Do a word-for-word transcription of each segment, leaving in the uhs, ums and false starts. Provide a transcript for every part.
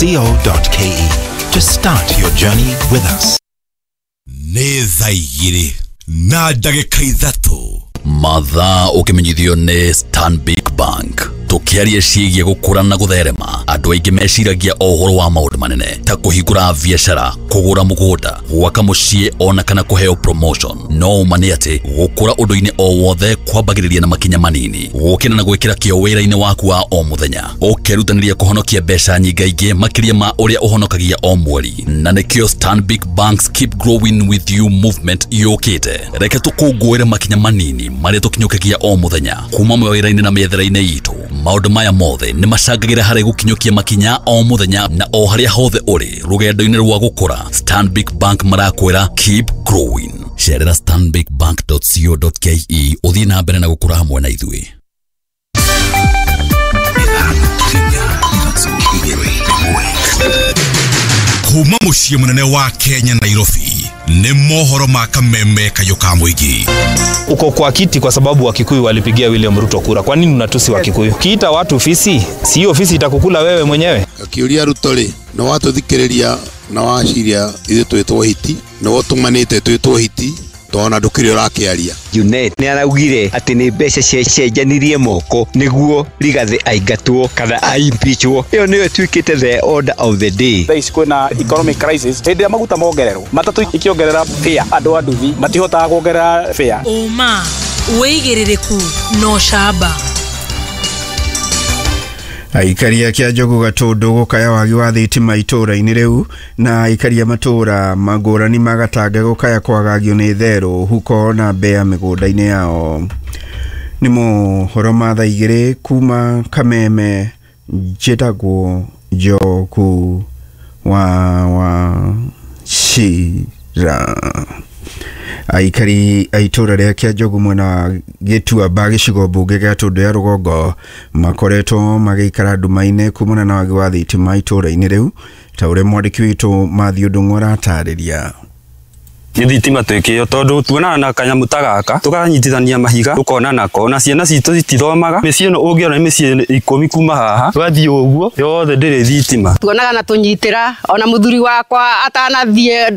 co dot K E to start your journey with us. Nĩ thaa igĩrĩ na ndagĩka ithatũ. Mathaa ũkĩmenyithio nĩ Stanbic Bank. Tũkĩaria ciĩgiĩ gũkũra na gũtherema, andũ aingĩ meciragia o ũhoro wa maũndũ manene ta kũhingũra biacara, kũgũra mũgũnda, gwaka mũciĩ ona kana kũheo promotion. No ũma nĩ atĩ gũkũra ũndũ-inĩ o wothe kwambagĩrĩria na makinya manini, gũkĩra na gwĩkĩra kĩo wĩra-inĩ waku wa o mũthenya, ũkerutanĩria kũhonokia mbeca nyingaingĩ makĩria ma ũrĩa ũhonokagia o mweri. Na nĩkĩo Stanbic Bank's Keep Growing With You movement yũkĩte. Reke tũkũngũĩre makinya manini marĩa tũkinyũkagia o mũthenya kuma mawĩra-inĩ na mĩethere-inĩ itũ. Maũndũ maya mothe nĩ macangagĩra harĩ gũkinyũkia makinya o mũthenya na o harĩa hothe ũrĩ rũgendo-inĩ rwa gũkũra. Stanbic Bank marakwĩra, "Keep growing." Cerera stanbicbank dot co dot K E ũthiĩ na mbere na gũkũra hamwe na ithuĩ. Ithano inya ithatũ igĩrĩ ĩmwe. Kuma mũciĩ mũnene wa Kenya, Nairobi, nĩ mohoro ma Kameme kayũ ka mũingĩ. Uko kwa kiti kwa sababu Wakikuyu walipigia William Ruto kura. Kwa nini unatusi Wakikuyu? Kiita watu fisi, si hiyo fisi itakukula wewe mwenyewe? Akiũria Ruto rĩ, nĩ watũthikĩrĩria na waciria ithuĩ twĩtwo hiti, nĩ wotũmanĩte twĩtwo hiti tona ndũkĩrĩ ũrakĩaria. Junet nĩ araugire atĩ nĩ mbeca ciacenjanirie moko nĩguo Rigathĩ aingatwo kana aimpeachwo. Ĩyo nĩyo ĩtuĩkĩte the order of the day. Thaa ici kwĩna economic crisis. Hĩndĩ ĩrĩa maguta mongererwo, matatũ ikĩongerera fare, andũ a nduthi matihotaga kuongerera fare. Ũma, wĩigĩrĩrĩku na ũcamba. Aikari a Kĩanjogu Gatũndũ gũkaya wagi wa thitima itũũra-inĩ rĩu, na aikari a matũũra mangũrani magatanga gũkaya kwagagio nĩ therũ, huko na mbea mĩgũnda-inĩ yao. Nĩ mohoro ma thaa igĩrĩ kuma Kameme. Njĩtagwo Njoku wa wa Cira. Aikari a itũũra rĩa Kĩanjogu mwena wa Gĩtuamba, gĩcigo mbunge gĩa Tũndũ ya Rũgongo, makoretwo magĩikara nduma-inĩ kumana na wagi wa thitima itũũra-inĩ rĩu, ta ũrĩa mwandĩki witũ Mathiũ Ndung'u aratarĩria. Nĩ thitima twĩkĩo tondũ tuonaga na kanyamũ ta gaka tũkanyitithania mahiga tũkona nako, na ciana citũ citithomaga. Mĩciĩ ĩno ũngĩona nĩ mĩciĩ ikũmi kuma haha twathiĩ ũguo, yothe ndĩrĩ thitima. Tuonaga na tũnyitĩra. Ona mũthuri wakwa atanathiĩ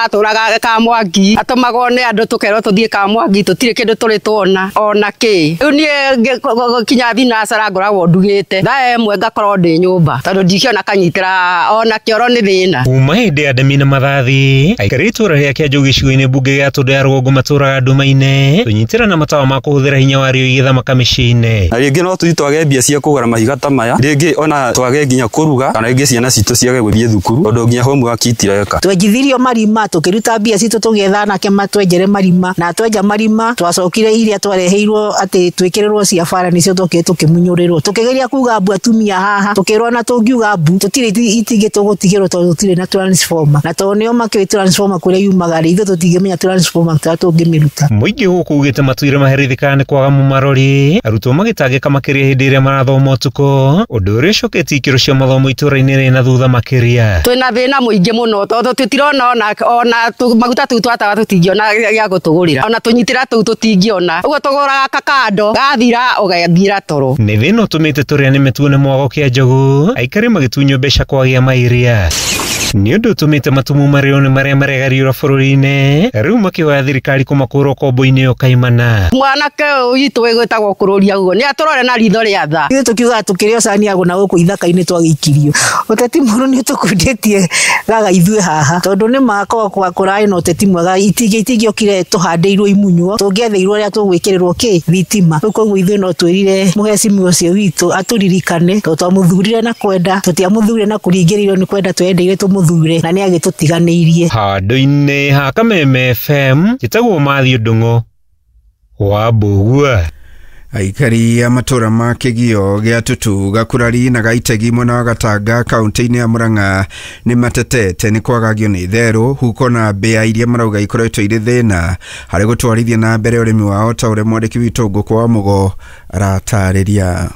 atũraga Kamwangi, atũmagwo nĩ andũ tũkerwo tũthiĩ Kamwangi, tũtirĩ kĩndũ tũrĩ tuona ona kĩ. Rĩu niĩ kinya thinacara ngoragwo ndugĩte thaa ĩmwe ngakorwo ndĩ nyũmba tondũ ndikĩona kanyitĩra ona kĩoro nĩ thĩna. Kuma hĩndĩ ya Ndemi na Mathathi, aikari itũũra rĩa Kĩanjũ gĩcigo-inĩ mbunge gĩa Tũndũ ya Rũgongo matũũraga nduma-inĩ, tũnyitĩra na matawa ma kũhũthĩra hinya wa riũa igĩthamaka mĩciĩ-inĩ. Na rĩngĩ no tũthiĩ twage mbia cia kũgũra mahiga ta maya, rĩngĩ ona twage nginya kũruga, kana rĩngĩ ciana citũ ciage gũthiĩ thukuru tondũ nginya homework itireka. Twenjithirio marima, tũkĩruta mbia citũ tũgĩetha anake matwenjere marima, na twenja marima twacokire iria twareheirwo atĩ twĩkĩrĩrwo cia bara nĩcio twokire tũkĩmunyũrĩrwo. Tũkĩgeria kuga mbu atumia haha, tũkĩrwo na tũngiuga mbu tũtirĩ itingĩ tũgũtigĩrwo tondũ tũtirĩ na transformer, na tondũ nĩo makĩũĩ transformer kũrĩa yumaga rĩ, ithuĩ tũtingĩmenya transformer tũrĩa tũngĩmĩruta. Mũingĩ gũkũ ugĩte matũire maherithĩkaga nĩ kwaga mũmarori, arutwo magĩtangĩka makĩria hĩndĩ ĩrĩa marathoma ũtukũ, ũndũ ũrĩa ũcoketie ikĩro cia mathomo itũũra-inĩ rĩ na thutha makĩria. Twĩna thĩna mũingĩ mũno tondũ tũtirona ona ona maguta tũu twatawa tũtingĩona gĩa gũtũgũrĩra, ona tũnyitĩra tũu tũtingĩona, ũguo tũgũraga kakando gathira ũgathira toro. Nĩ thĩna ũtũmĩte tũrĩa nĩme tuone mwago Kĩanjogu, aikari magĩtunywo mbeca kwagĩa mairia. Nĩ ũndũ ũtũmĩte matumu marĩo nĩ marĩa maregariũra bũrũri-inĩ rĩu makĩhoya thirikari kũmakũra ũkombo-inĩ ũyũ kaimana. Mwanake ũyũ witũ wĩgwĩtagwo kũrũria ũguo nĩ atũrore na ritho rĩa tha. Ithuĩ tũkiugaga tũkĩrĩ o cani na gũkũ ithaka-inĩ twagĩikirio. Ũteti mũru nĩ ũtũkundĩtie gaga ithuĩ haha tondũ nĩ makorwo kũrarĩ na ũteti mwega, itingĩ itingĩokire tũhandĩirwo imunywo, tũngĩetheirwo ũrĩa tũgwĩkĩrĩrwo kĩ thitima. Rĩu koguo ithuĩ no twĩrire mũhecimiwa ũcio witũ atũririkane tondũ twamũthurire na kwenda, tũtiamũthurire na kũringĩrĩrio, nĩ kwenda twendeire tũmũthure na nĩ agĩtũtiganĩirie. Handũ-inĩ ha Kameme F M, njĩtagwo Mathiũ Ndung'u wa Mbũgua. Aikari a matũra ma Kĩgio gĩa Tutu, Gakurari na Gaitegi mwena wa Gatanga kaunti-inĩ ya Murang'a nĩ matetete nĩ kwagagio nĩ therũ, huko na mbĩa iria marauga ikoretwo irĩ thĩna harĩ gũtwarithia na mbere ũrĩmi wao, ta ũrĩa mwandĩki witũ Ngũkũ wa Mũgo aratarĩria.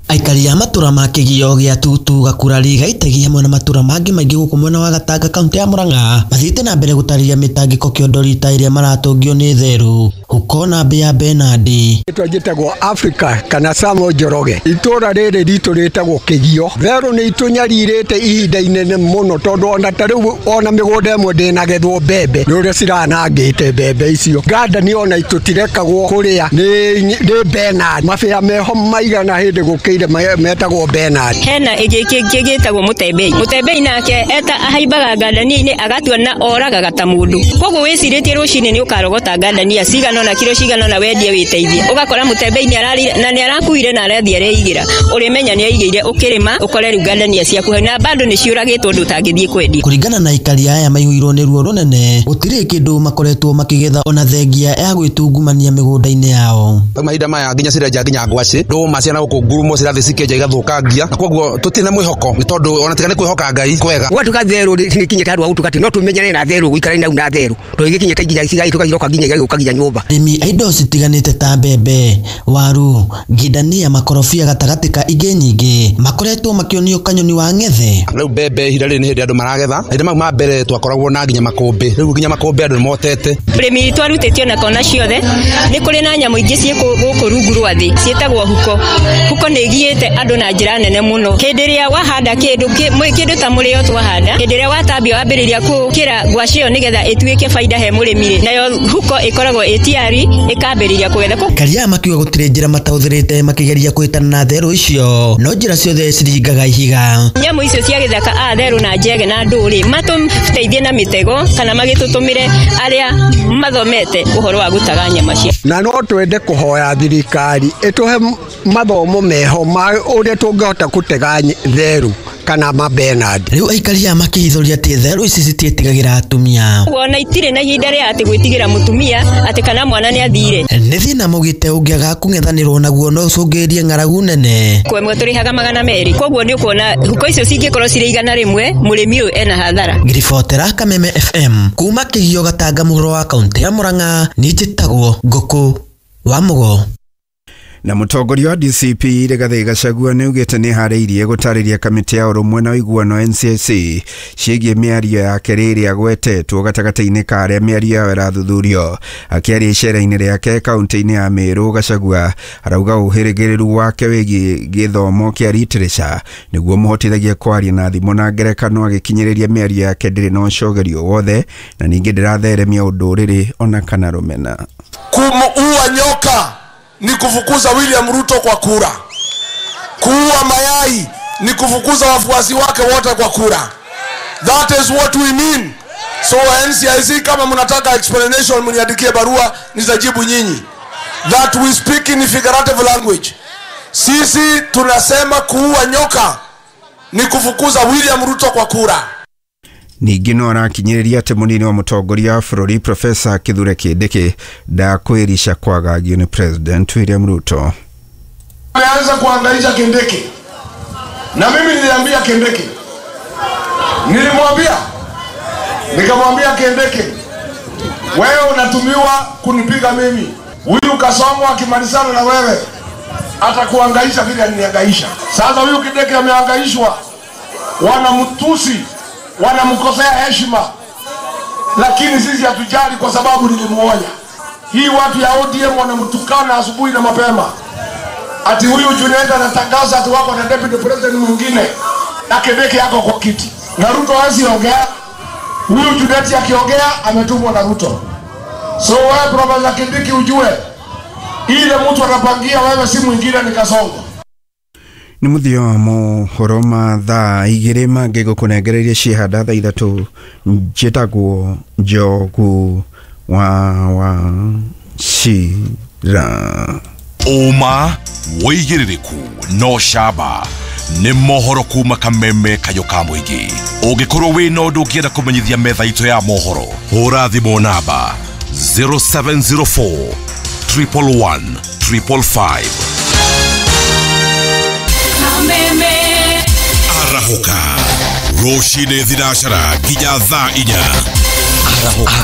Aikari a matura ma kĩgio gĩa Tutu Gakurari Gaitegi hamwe na matura mangĩ maingĩ gũkũ mwena wa Gatanga kaunti ya Murang'a mathiĩte na mbere gũtarĩria mĩtangĩko kĩondo rita ĩrĩa maratũngio nĩ therũ huko na mbĩa Bernard. Rĩtwa njĩtagwo Africa kana Samo Njoroge. Itũra rĩrĩ ritũ rĩtagwo Kĩgio. Therũ nĩ itũnyarirĩte ihinda inene mũno tondũ ona ta rĩu ona mĩgũnda ĩmwe ndĩnagethwo mbembe nĩ ũrĩa ciranangĩte mbembe icio. Ngandani ona tũtirekagwo kũrĩa nĩ nĩ Bernard. Mabĩa meho maigana hĩndĩ gũkĩire metagwo Bernard. Hena ĩngĩ kĩngĩ gĩtagwo Mũtembei. Mũtembei nake eta ahaimbaga ngandani-inĩ agatua na oragaga ta mũndũ. Koguo wĩcirĩtie rũcinĩ nĩ ũkarogota ngandania cigana ona kiro cigana ona wendie wĩteithie. Ũgakora Mũtembei nĩ ararire na nĩ arakuire na arathiĩ areigĩra. Ũrĩmenya nĩ aigĩire ũkĩrĩma ũkore rĩu ngandania ciaku na bado nĩ ciũragĩtwo ndũ ũtangĩthiĩ kwendia. Kũringana na aikari aya maihũirwo nĩ ruo rũnene gũtirĩ kĩndũ makoretwo makĩgetha ona thengia ya gwĩtungumania mĩgũnda-inĩ yao. Mahinda maya nginya cirenja nginya ngwacĩ ndũma ciana gũkũ ngurumo cirathiĩ cikĩenja igathũkangia na koguo tũtirĩ na mwĩhoko nĩ tondũ ona tiga nĩ kwĩhoka Ngai kwega. Gwatuka therũ nĩ handũ ha gũtuka atĩ no tũmenyane na therũ gũikara nau na therũ tondũ igĩkinyĩte nginya cigaitũka iroka nginya igagĩũka nginya nyũmba. Arĩmi a indo citiganĩte ta mbembe, waru, ngindania, makorobia gatagatĩ ka ingĩ nyingĩ makoretwo makĩonio kanyoni wa ng'ethe. Rĩu mbembe ihinda rĩrĩ nĩ hĩndĩ andũ maragetha. Mahinda mau ma mbere twakoragwo na nginya makũmbĩ, rĩu nginya makũmbĩ andũ nĩmotete. Ũrĩmi witũ arutĩtio na kona ciothe nĩ kũrĩ na nyamũ ingĩ ciĩ gũkũ rungu rwa thĩ ciĩtagwo huko. Huko nĩ ĩgiĩte andũ na njĩra nene mũno. Hĩndĩ ĩrĩa wahanda kĩndũ kĩndũ ta mũrĩo twahanda, hĩndĩ ĩrĩa watambia wambĩrĩria kũkĩra ngwacĩ ĩyo nĩgetha ĩtuĩke baida he mũrĩmi rĩ, nayo huko ĩkoragwo ĩ tayari ĩkambĩrĩria kũgetha. Aikari makiuga gũtirĩ njĩra matahũthĩrĩte makĩgeria kũhĩtana na therũ icio no njĩra ciothe ciringaga ihiga. Nyamũ icio cia gĩthaka a therũ na njege na ndũrĩ matũteithie na mĩtego kana magĩtũtũmĩre arĩa mathomete ũhoro wa gũtaga nyama cia. Na no twende kũhoya thirikari ĩtũhe mathomo meho ma ũrĩa tũngĩhota gũtega therũ kana ma Bernard. Rĩu aikari aya makĩhithũria atĩ therũ ici citiĩtigagĩra atumia. Ona itirĩ na ihinda rĩa atĩ gwĩtigĩra mũtumia atĩ kana mwana nĩ athire. Nĩ thĩna maugĩte ũngĩaga kũng'ethanĩrwo naguo no ũcũngĩrĩrie ng'aragu nene. Kwa ĩmwe tũrĩhaga magana merĩ koguo nĩ ũkuona huko icio cingĩkorwo cirĩ igana rĩmwe mũrĩmi ũyũ ena hathara. Ngiribotera Kameme F M kuma Kĩgio Gatanga mũhuro wa kaunti ya Murang'a niĩ njĩtagwo Ngũkũ wa Mũgo. Na mũtongoria wa D C P Rigathi Gachagua nĩ augĩte nĩ harĩirie gũtarĩria kamĩtĩ ya ũrũmwe na ũiguano N C C ciĩgiĩ mĩario yake rĩrĩa agwetetwo gatagatĩ-inĩ ka arĩa mĩario yao ĩrathuthurio. Akĩaria icera-inĩ rĩake kaunti-inĩ ya Meru, Gachagua arauga ũhĩrĩgĩrĩru wake wĩgiĩ gĩthomo kĩa literature nĩguo mũhotithagie kwaria na thimo na ngerekano agĩkinyĩrĩria mĩario yake ndĩrĩ na ũcogerio wothe na ningĩ ndĩratheremia ũndũrĩrĩ ona kana rũmena. Kumuua nyoka ni kufukuza William Ruto kwa kura. Kuua mayai ni kufukuza wafuasi wake wote kwa kura. That is what we mean. So N C I C, kama mnataka explanation mniandikie barua nitajibu nyinyi. That we speak in figurative language. Sisi tunasema kuua nyoka ni kufukuza William Ruto kwa kura. Ningĩ no arakinyĩrĩria atĩ mũnini wa mũtongoria wa bũrũri Profesa Kithure Kindiki ndakwĩrica kwagagio nĩ President William Ruto. Ameanza kuhangaisha Kindiki. Na mimi niliambia Kindiki. Nilimwambia nikamwambia Kindiki, wewe unatumiwa kunipiga mimi. Huyu Kasongo akimalizana na wewe atakuhangaisha vile alinihangaisha. Sasa huyu Kindiki amehangaishwa. Wanamtusi, wanamkosea heshima, lakini sisi hatujali kwa sababu nilimuonya. Hii watu ya O D M wanamtukana asubuhi na mapema ati huyu Juliet anatangaza ati wako na deputy president mwingine na Kindiki yako kwa kiti na Ruto hawezi ongea. Huyu Juliet akiongea ametumwa na Ruto. So wewe Profesa Kindiki ujue ile mtu anapangia wewe si mwingine ni Kasongo. Nĩ mũthia wa mohoro ma thaa igĩrĩ mangĩ gũkũnengereria ciĩhanda thaa ithatũ. Njĩtagwo Njogu wa wa Cira. Ũma wĩigĩrĩrĩku no camba nĩ mohoro kuma Kameme Kayũ ka mũingĩ. Ũngĩkorwo wĩna ũndũ ũngĩenda kũmenyithia metha itũ ya mohoro, hũra thimũ namba zero seven zero four triple one triple five. Arahũka rũcinĩ thinacara nginya thaa inya. Arahũka.